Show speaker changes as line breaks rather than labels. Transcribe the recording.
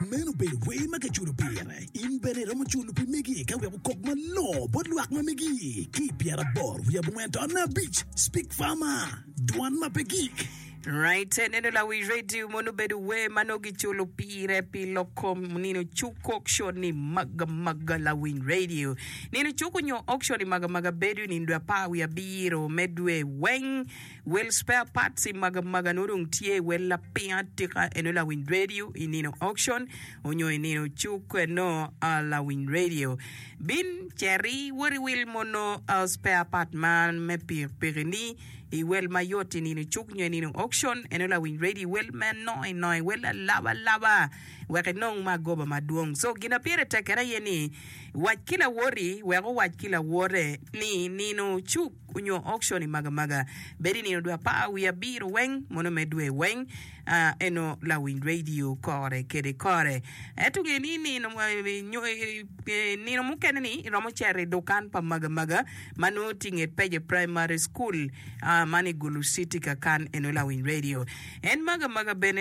Meno obedo wer ma kiculo pire. In bene iromo culo pi megi ka wek okok malongo bot lwak ma megi ki i pyeraboro wiye abongwen taun abic. Speak Farmer, Dwan ma pe gik.
Right, neno lawi radio mono obedo wer ma nongo giculo pire pi lok kom nino cuk auction ni maga maga lawiny radio. Nino cuk onyo auction i maga maga bedo i nino dwe apar wiye abiro me dwe weng. Wel spare parts i maga maga nongo dong tye wel lapiny atika eno lawiny radio i nino auction onyo i nino cuk eno lawiny radio. Bin ceri wot i wil mono spare part man me pikipiki ni i wel mayot i nino cuk nyo i nino auction eno lawiny radio i wel me nongo inongo i wel alaba alaba wek inong ma agoba madwong. So gin ma pire tek kene aye ni wac ki lawoti wek owac ki lawote ni nino cuk onyo auction i magamaga bedo i nino dwe apar wiye abiro weng mono me dwe weng eno lawiny radio kore kede kore. Ento nge ni nino nino mukene ni iromo cito i dukan pa magamaga ma nongo tye i nget Peje Primary School man i Gulu City kakan eno lawiny radio. En magamaga bene.